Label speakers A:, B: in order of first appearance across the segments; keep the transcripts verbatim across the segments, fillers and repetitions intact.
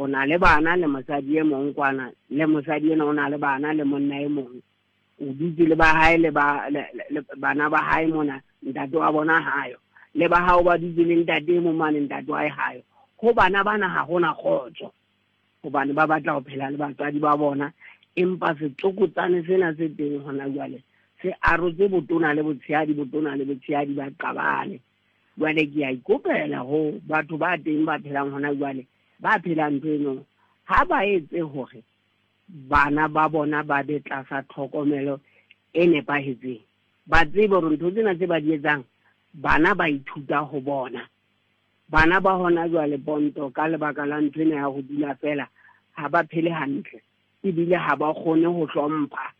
A: O na le bana le mosadi e mong kwana, le mosadi ena o na le bana le monna e mong. O dutse le ba hae le ba le bana ba hae mona, ntate wa bona hayo. Le ba hao ba dutse le ntate e mong mane, ntate wa hae hayo. Ho bana bana ha hona kgotso, hobane ba batla ho phela le batswadi ba bona, empa setlokotsane sena se teng hona jwale se arotse botona le botshehadi, botona le botshehadi ba qabane. Jwale ke a ikopela ho batho ba teng ba phelang hona jwale, ba phelang ntho eno, ha ba etse hore bana ba bona ba be tlasa tlhokomelo e nepahetseng. Ba tsebe hore ntho tsena tse ba di etsang, bana ba ithuta ho bona. Bana ba hona jwale Ponto, ka lebaka la ntho ena ya ho dula fela, ha ba phele hantle, ebile ha ba kgone ho hlompha.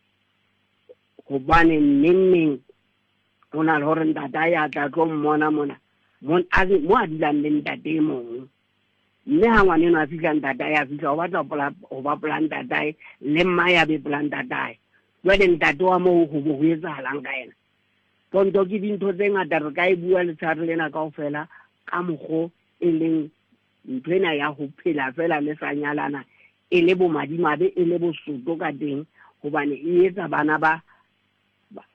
A: Hobane neng neng ho na le hore ntatae a tla tlo mmona mona, mo a mo a dulang le ntate e mong. Mme ha ngwaneno a fihla, ntatae a fihla, o batla ho ba pola ntatae, le mmae a be pola ntatae. Jwale ntate wa moo ho bo ho etsahalang ka yena? Ponto, ke dintho tse ngata re ka e bua letshehare lena kaofela, ka mokgo e leng ntho ena ya ho phela fela le sa nyalana, e le bomadimabe, e le bosoto ka teng, hobane e etsa bana ba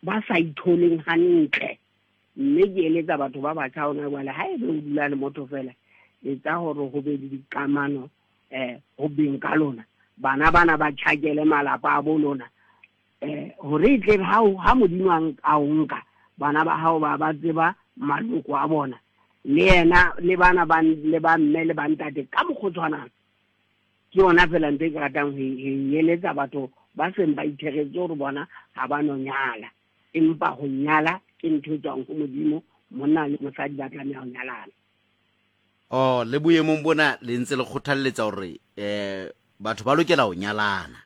A: ba sa itholeng hantle. Mme ke eletsa batho ba batjha hona jwale, ha ebe o dula le motho fela, etsa hore ho be le dikamano eh ho beng ka lona, bana bana ba tjhakele malapa a bo lona, eh hore e tle ha ha Modimo a o nka, bana ba hao ba ba tseba maloko a bona, le yena le bana ba le ba mme le ba ntate ka mokgwa o tshwanang. Ke yona fela ntho e ke ratang ho e eletsa batho ba seng ba itheretse hore bona ha ba no nyala, empa ho nyala ke ntho e tswang ho Modimo, monna le mosadi ba tlameha ho nyalana.
B: Oh, le boemong bona le ntse le kgothalletsa hore eh batho ba lokela ho nyalana.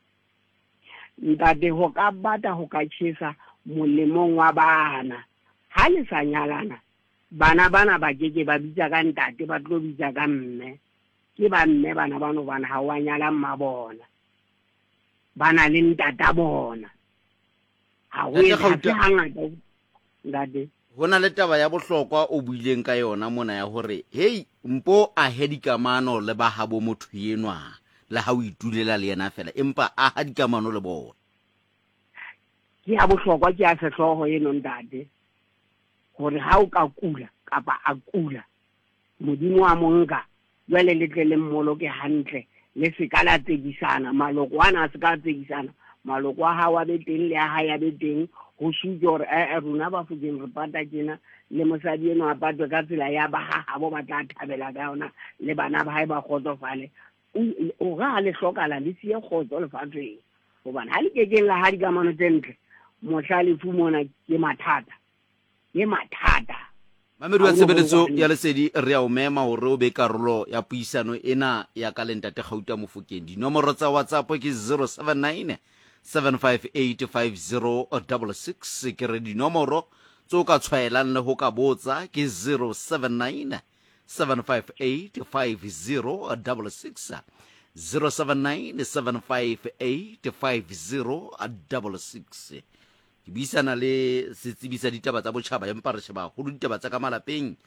A: Ntate, ho ka bata ho ka tjhesa molemong wa bana. Ha le sa nyalana, bana bana ba keke ba bitsa ka ntate, ba tlo bitsa ka mme. Ke ba mme bana bano, bana ha wa nyala mma bona, ba na le ntata bona. Ha ho
B: Ntate
A: etse
B: Kgauta,
A: hangata, ntate.
B: Ho na le taba ya bohlokwa o buileng ka yona mona ya hore hei, mpo ahe dikamano le ba habo motho enwa, le ha o itulela le yena fela, empa aha dikamano le bona.
A: Ke ya bohlokwa, ke ya sehlooho eno ntate, hore ha o ka kula kapa a kula, Modimo a mo nka, jwale le tle le mmoloke hantle, le se ka la tsekisana, maloko ana a se ka tsekisana, maloko a hao a be teng le a hae a be teng, ho supe hore eh rona Bafokeng re pata tjena, le mosadi eno a patwe ka tsela ya ba ha habo ba tla thabela ka yona, le bana ba hae ba kgotsofale. O re ha le hlokala le siye kgotso lefatsheng, hobane ha le kekeng la ha dikamano tse ntle, mohla lefu mona ke mathata, ke mathata.
B: Mamedi wa tshebeletso ya Lesedi, re a o mema hore o be karolo ya puisano ena ya ka le ntate Kgauta Mofokeng. Dinomoro tsa WhatsApp ke zero seven nine seven five eight five zero double six. Ke re dinomoro tse o ka tshwaelang le ho ka botsa ke zero seven nine seven five eight five zero double six, zero seven nine seven five eight five zero double six. Ke buisana le setsebi sa ditaba tsa botjhaba, empa re sheba haholo ditaba tsa ka malapeng.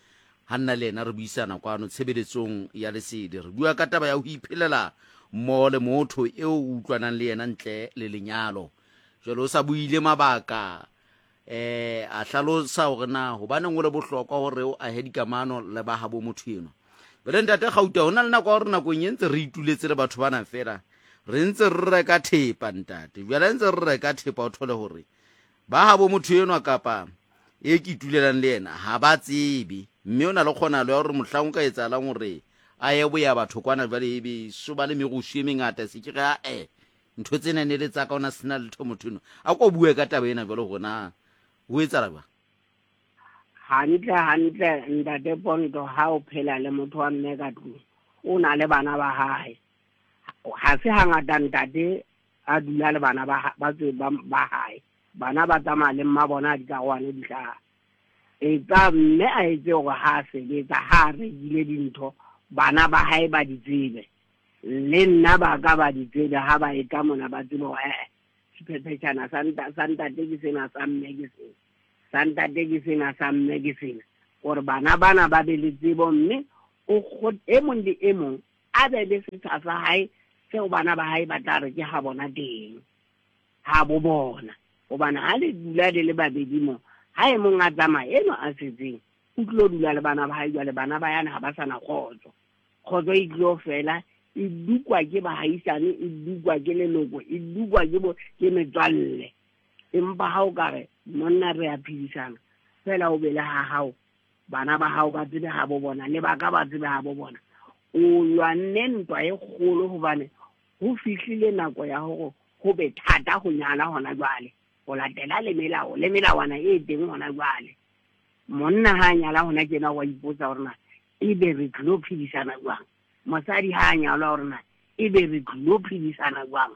B: Ha nna le yena re buisana kwano tshebeletsong ya Lesedi, re bua ka taba ya ho iphelela mmoho le motho eo o utlwanang le yena ntle le lenyalo. Jwale o sa buile mabaka, eh a hlalosa hore na hobaneng o le bohlokwa hore o ahe dikamano le ba habo motho enwa. Jwale ntate Kgauta, ho na le nako ya hore nakong e ntse re ituletse le batho bana fela, re ntse re reka thepa ntate. Jwale ntse re reka thepa, o thole hore ba habo motho enwa kapa e ke itulelang le yena ha ba tsebe, mme o na le kgonahalo ya hore mohlang o ka etsahalang hore a ye boya batho kwana jwale ebe so ba le merusu e mengata, se ke re a e ntho tsena ne le tsa ka ona sena letho motho enwa. A ko bue ka taba ena jwale hore na ho etsahala jwang?
A: Hantle hantle ntate Ponto, ha o phela le motho wa mme ka tlung, o na le bana ba hae. Ha se hangata ntate a dula le bana ba ba ba hae. Bana ba tsamaya le mma bona dikarohane di hlaha. Etsa mme a etse hore ha sebetsa, ha rekile dintho, bana ba hae ba di tsebe. Le nna ba ka ba di tsebe, ha ba etla mona ba tsebe hore eh sephephetjhana sa ntate ke sena, sa mme ke sena, sa ntate ke sena, sa mme ke sena. Hore bana bana ba be le tsebo, mme o e mong le e mong A be le setsha sa hae seo bana ba hae ba tla re ke ha bona teng, ha bo bona. Hobane ha le dula le le babedi mo, ha e mong a tsamaya eno a setseng, o tlilo dula le bana ba hae. Jwale bana ba yana ha ba sa na kgotso. Kgotso e tlilo fela, e dukwa ke bahaisane, e dukwa ke leloko, e dukwa ke bo ke metswalle. Empa ha o ka re monna re a phedisana fela, o be le ha hao, bana ba hao ba tsebe ha bo bona, le ba ka ba tsebe ha bo bona, o lwanne ntwa e kgolo. Hobane ho fihlile nako ya hore ho be thata ho nyala hona jwale, ho latela le melao le melawana e teng hona jwale. Monna ha a nyala hona tjena, wa ipotsa hore na ebe re tlilo phedisana jwang. Mosadi ha a nyalwa, hore na ebe re tlilo phedisana jwang.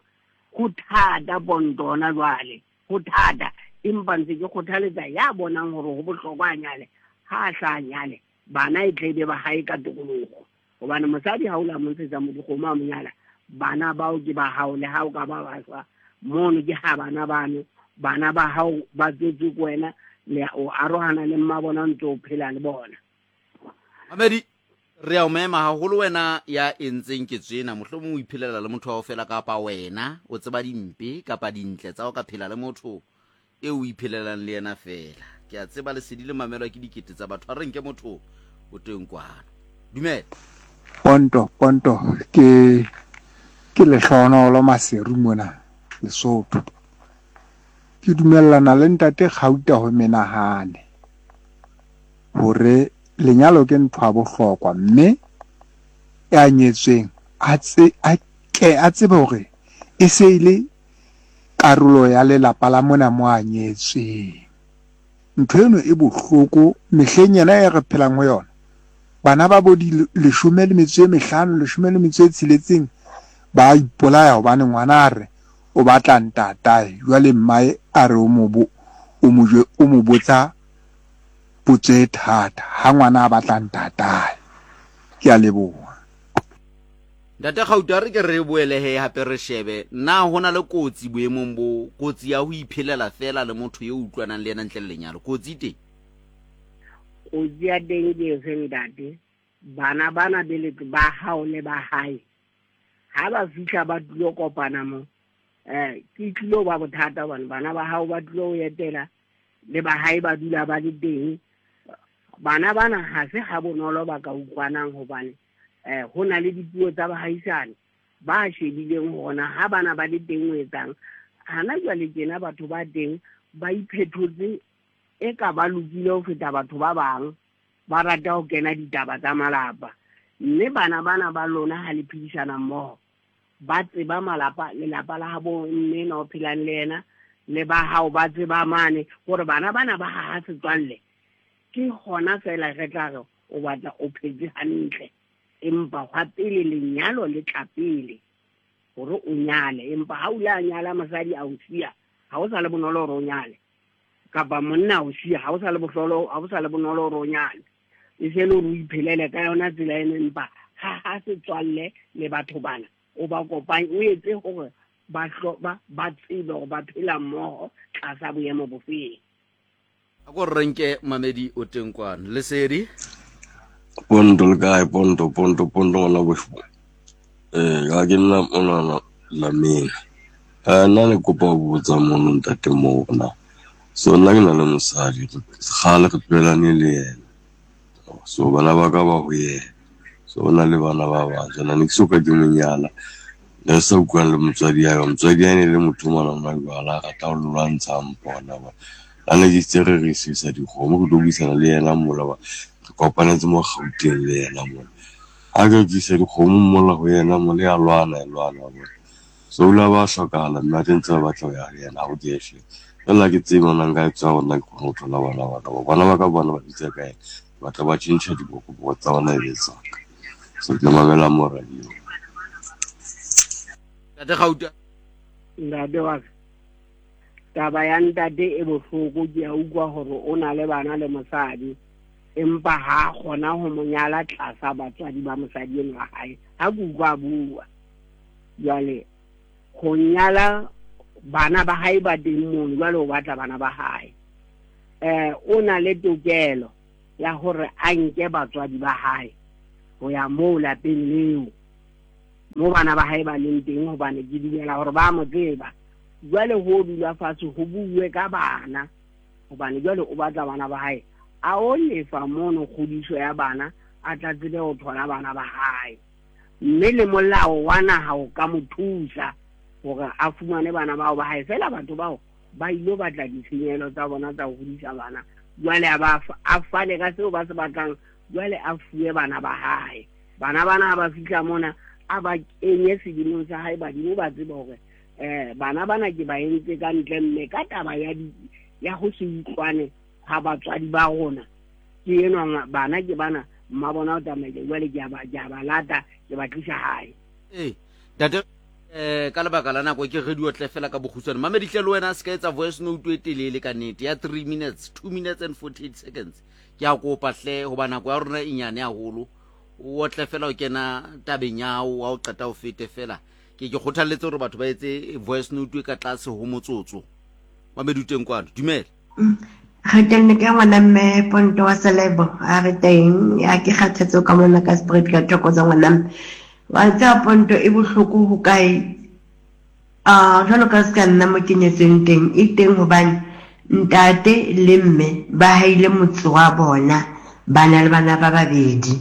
A: Ho thata ponto hona jwale, ho thata. Empa ntse ke kgothaletsa ya bonang hore ho bohlokwa a nyale, ha a sa nyale, bana e tle be ba hae ka tokoloho. Hobane mosadi ha o la mo ntshetsa dikgomo a mo nyala, bana bao ke ba hao, le ha o ka ba ba shwa mono ke ha bana bano, bana ba hao ba tswetswe ke wena, le o arohana le mma bona, ntse o phela le bona.
B: Mamedi, re a o mema haholo wena ya entseng ketso ena. Mohlomong o iphelela le motho wa hao fela, kapa wena o tseba dimpe kapa dintle tsa ho ka phela le motho eo o iphelelang le yena fela. Ke a tseba lesedi le mamelwa ke dikete tsa batho. A re nke motho o teng kwano. Dumela.
C: Ponto, ponto, ke ke lehlohonolo Maseru mona Lesotho. Ke dumellana le ntate Kgauta ho menahane hore lenyalo ke ntho ya bohlokwa, mme ya nyetsweng a tse a ke a tsebe hore e se e le karolo ya lelapa la mona mo a nyetsweng. Ntho eno e bohloko mehleng ena e re phelang ho yona. Bana ba bo di leshome le metso e mehlano, leshome le metso e tsheletseng ba ipolaya hobane ngwana a re o batla ntatae. Jwale mmae a re o mo bo o mo o mo botsa potso e thata ha ngwana a batla ntatae. Ke a leboha.
B: Ntate Kgauta, re ke re boele he hape re shebe na ho na le kotsi boemong bo, kotsi ya ho iphelela fela le motho eo utlwanang le yena ntle le lenyalo. Kotsi teng?
A: Kotsi ya teng ke efe ntate? Bana bana be le ba hao le ba hae, ha ba fihla ba tlilo kopana mo, eh ke tlilo ba bothata hobane bana ba hao ba tlilo ho etela, le ba hae ba dula ba le teng. Bana bana ha se ha bonolo ba ka utlwanang, hobane eh ho na le dipuo tsa bahaisane ba shebileng hona ha bana ba le teng o etsang. Hana jwale tjena batho ba teng ba iphetotse e ka ba lokile ho feta batho ba bang, ba rata ho kena ditaba tsa malapa. Mme bana bana ba lona ha le phedisana mmoho, ba tseba malapa, lelapa la habo mme na o phelang le yena, le ba hao ba tseba mane, hore bana bana ba haha setswalle. Ke hona fela re tla re o batla o phetse hantle. Empa hwa pele lenyalo le tla pele hore o nyale. Empa ha o ile a nyala mosadi a o siya, ha o sa le bonolo hore o nyale, kapa monna a o siya, ha o sa le bohlolo, ha o sa le bonolo hore o nyale. E se le hore o iphelele ka yona tsela eno. Empa ha ha setswalle le batho bana, o ba kopanye, o etse hore ba ba ba tsebe hore ba phela mmoho tlasa boemo bofeng.
B: A ko re nke mamedi o teng kwano. Lesedi.
D: Ponto le kae? Ponto, ponto, ponto ngwana bohloko. Eh, ga ke nna monana lameng. Eh, nna ne kopa ho botsa mono ntate moo na. So nna ke na le mosadi, kgale re tlwaelane le yena. So bana ba ka ba ho yena. So o na le bana ba bang. Jana ne ke soka ke mo nyala. Ne re sa utlwane le motswadi ya ka. Motswadi ya ne le motho mona ona jwala, a rata ho lwantsha mpona ba. La ne ke itse re re isisa dikgomo, re tlo buisana le yena mola ba. Re kopanetse mo Gauteng le yena mola. Ha ke tlisa dikgomo mola ho yena mola, ya lwana, ya lwana bona. So o la ba hlokahala, mme a teng tse ba batla ho ya ho yena, ha o ke hle. Fela ke tsebe hore nka etsa hore nna ke kgone ho thola bana ba ka. Bana ba ka bona ba bitsa ka yena. Batla ba tjhentjha dibokoboko tsa bona e be tsa ka. So ke mamela mo radio.
B: Ntate Kgauta.
A: Ntate wa ka, taba ya ntate e bohloko. Ke a utlwa hore o na le bana le mosadi, empa ha kgona ho mo nyala tlasa batswadi ba mosadi eno wa hae. Ha ke utlwa a bua jwale, ho nyala bana ba hae ba teng mono, jwale o batla bana ba hae. Eh o na le tokelo ya hore a nke batswadi ba hae ho ya moo lapeng leo, Mo bana ba hae ba leng teng, hobane ke dumela hore ba mo tseba. Jwale ho dula fatshe ho bue ka bana, hobane jwale o batla bana ba hae. A o lefa mono kgodiso ya bana, a tla tsebe ho thola bana ba hae. Mme le molao wa naha o ka mo thusa hore a fumane bana bao ba hae. Feela batho bao ba ilo batla ditshenyehelo tsa bona tsa ho hodisa bana. Jwale a ba a fane ka seo ba se batlang, jwale a fuwe bana ba hae. Bana bana ha ba fihla mona, a ba kenye sedimong sa hae, badimo ba tsebe hore eh bana bana ke ba entse ka ntle, mme ka taba ya di ya ho se utlwane ha batswadi ba rona. Ke enwa bana ke bana, mma bona o tsamaile, jwale ke a ba ke a ba lata, ke ba tlisa hae.
B: Ee, ntate, eh ka lebaka la nako ke re diotle fela ka bokgutshwane. Mamedihle le wena se ka etsa voice note e telele ka nnete ya three minutes, two minutes and forty-eight seconds. Ke a kopa hle, hoba nako ya rona e nyane haholo. O otle fela o kena tabeng ya hao, wa o qeta o fete fela. Ke ke kgothalletse hore batho ba etse voice note e ka tlase ho motsotso. Mamedi teng kwano, dumela.
E: Re teng ke ngwana mme Ponto wa Selebo, a re teng ya ke kgathatso ka mona ka spread ka thoko tsa ngwana mme. Wa tseba Ponto e bohloko ho kae? Ah, jwalo ka se ka nna mo kenyetsweng teng, e teng hobane ntate le mme ba haile motse wa bona, ba na le bana ba babedi.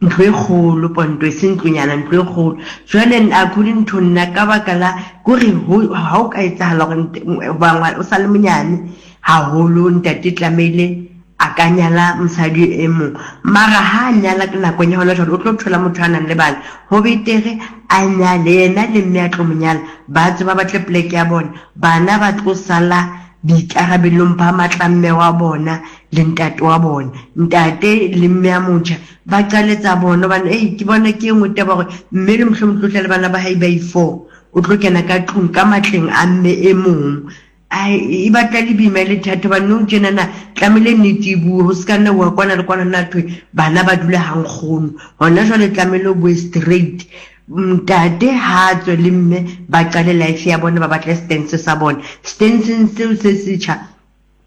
E: Ntlo e kgolo Ponto, e seng ntlonyana, ntlo e kgolo. Jwale according to nna ka baka la kore ha o ka etsahala hore ba o sa le monyane haholo, ntate tlamehile a ka nyala mosadi e mong. Mara ha a nyala ka nakong ya hona jwale, o tlo thola motho a nang le bana. Ho betere a nyale yena le mme a tlo mo nyala, ba tswe ba batle poleke ya bona. Bana ba tlo sala boikarabelong ba matla mme wa bona le ntate wa bona. Ntate le mme a motjha ba qale tsa bona, hobane ei ke bona ke e nngwe taba hore mme le mohlomong tlo tla le bana ba hae ba i-four, o tlo kena ka tlung ka matleng a mme e mong. Ai, e batla le boima le thata, hobane nou tjenana tlamehile nnete e bue, ho se ka nna wa kwana le kwana nna thwe bana ba dula ha nkgono. Hona jwale tlamehile o bue straight. Ntate ha tswe le mme ba qale life ya bona, ba batle stance sa bona. Stanceng seo se setjha,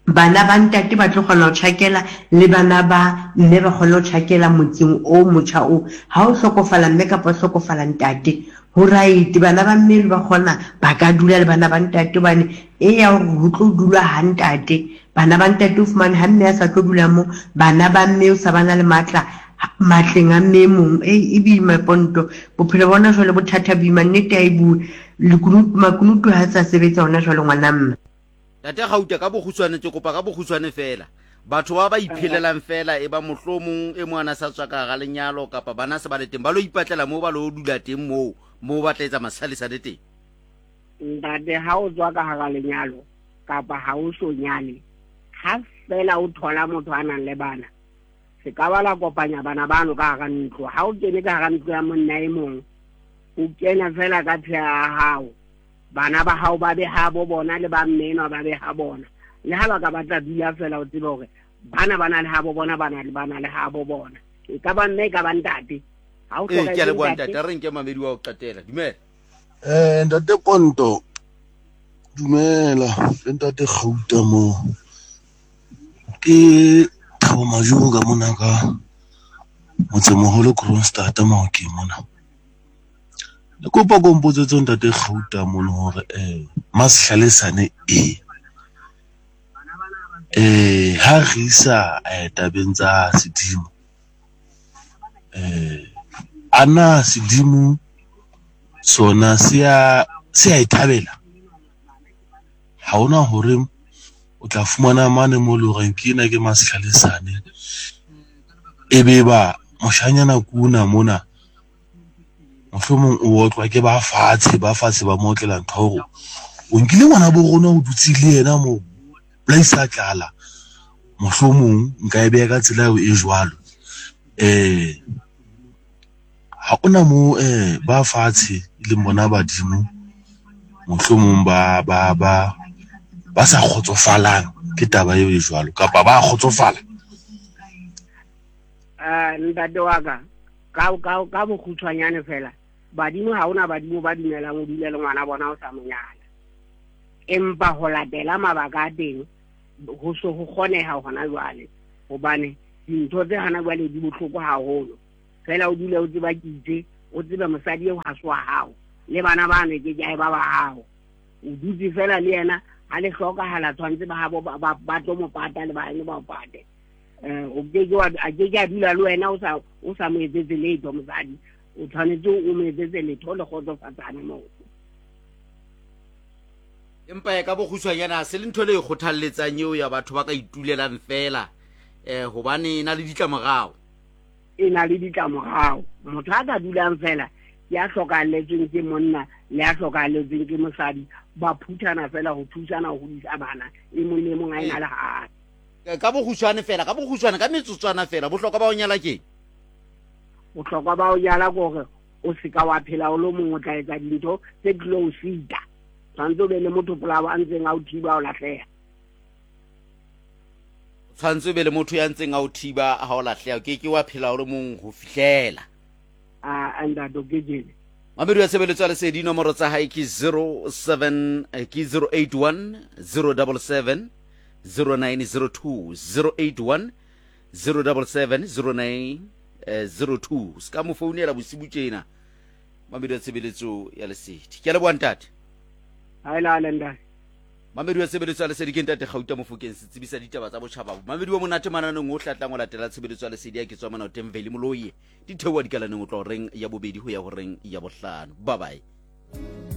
E: bana ba ntate ba tlo kgona ho tjhakela le bana ba mme ba kgone ho tjhakela motseng o motjha o. Ha o hlokofala mme kapa o hlokofala ntate, ho right, bana ba mme ba kgona ba ka dula le bana ba ntate, hobane e ya hore ho tlo dulwa ha ntate. Bana ba ntate o fumane ha mme a sa tlo dula mo, bana ba mme o sa bana le matla matleng a mme e mong. E boima Ponto, bophelo bona jwale bo thata boima, nnete ha e bue. Lekunutu, makunutu ha sa sebetsa hona jwale ngwana mme.
B: Ntate Gauta, ka bokgutshwane ke kopa ka bokgutshwane fela. Batho ba ba iphelelang fela e ba mohlomong e mong a sa tswa ka hara lenyalo kapa bana se ba le teng, ba lo ipatlela moo ba lo dula teng moo, moo ba tla etsa masalisane teng.
A: Ntate, ha o tswa ka hara lenyalo kapa ha o so nyale, ha fela o thola motho a nang le bana, se ka ba la kopanya bana bano ka hara ntlo. Ha o kene ka hara ntlo ya monna e mong, o kena fela ka tsheya ya hao. Bana ba hao ba be ha bo bona le ba mme enwa ba be ha bona. Le ha ba ka batla dula fela, o tsebe hore bana ba na le ha bo bona, bana le bana le ha bo bona. E ka ba mme, e ka ba ntate. Ha o
B: Ee,
A: hloka
B: ke a
A: e
B: leboha
A: ntate.
B: ntate, a re nke mamedi wa ho qetela. Dumela.
D: Eh, ntate Ponto, dumela, le ntate Gauta moo. Ke Thabo Majuo ka mona ka motsemoholo Kroonstad Maokeng mona. Le kopa ko mpotsetse ntate Gauta mono hore eh masihlalesane e eh ha re isa eh tabeng tsa sedimo, eh ana sedimo sona se a se a e thabela? Ha hona hore o tla fumana mane mo le horeng ke ena ke masihlalesane, e be ba moshanyana kuna mona mohlomong o otlwa ke ba fatshe, ba fatshe ba mo otlela ntho hore o nkile ngwana bo rona o dutse le yena moo bolaisa tlala. Mohlomong nka e beha ka tsela eo e jwalo. Eh ha ona mo eh ba fatshe e leng bona badimo mohlomong ba ba ba ba sa kgotsofalang ke taba eo e jwalo, kapa ba kgotsofala.
A: Eh ntate wa ka, ka ka ka bokgutshwanyane fela, badimo ha hona badimo ba dumelang o dule le ngwana bona o sa mo nyala. Empa ho latela mabaka a teng ho so ho kgoneha hona jwale, hobane dintho tse hana jwale di bohloko haholo. Fela o dule o tseba ke itse O tsebe mosadi eo ha se wa hao, le bana bano ke ke ba ba hao. O dutse fela le yena, ha le hlokahala tshwanetse ba habo ba tlo mo pata le ba ene ba o pate. Eh, o ke ke wa a ke ke a dula le wena o sa o sa mo etsetse letho mosadi. O tshwanetse o mo etsetse letho le kgotsofatsane moo.
B: Empa e ka bokgutshwanyana ha se le ntho le e kgothalletsang eo ya batho ba ka itulelang fela, eh hobane e na le ditlamorao.
A: E na le ditlamorao. Motho a ka dulang fela ya hlokahalletsweng ke monna le ya hlokahalletsweng ke mosadi, ba phuthana fela ho thusana ho hodisa bana, e mong le e mong a ena le hae.
B: Ka bokgutshwane fela, ka bokgutshwane, ka metsotswana fela, bohlokwa ba ho nyala keng?
A: Bohlokwa ba ho nyala ke hore o seka wa phela o le mong, o tla etsa dintho tse tlilo o sita. Tshwanetse o be le motho polao a ntseng a o thiba o lahleha.
B: Tshwanetse o be le motho ya ntseng a o thiba ha o lahleha, o ke ke wa phela o le mong ho fihlela.
A: A ntate o kekele.
B: Mamedi wa tshebeletso ya Lesedi, nomoro tsa hae ke zero seven, ke zero eight one, zero double seven, zero nine zero two, zero eight one, zero double seven, zero nine zero two. Se ka mo founela bosibu tjena. Mamedi wa tshebeletso ya Lesedi. Ke a leboha ntate.
A: Ha e la ntate.
B: Mamedi wa tshebeletso ya Lesedi ke ntate Gauta Mofokeng, setsebi sa ditaba tsa botjhaba. Mamedi wa monate mananeng o hlatlang o latela tshebeletso ya Lesedi ya ke tswa mona teng Veli Moloi. Di theoha dikalaneng o tla horeng ya bobedi ho ya horeng ya bohlano. Bye bye.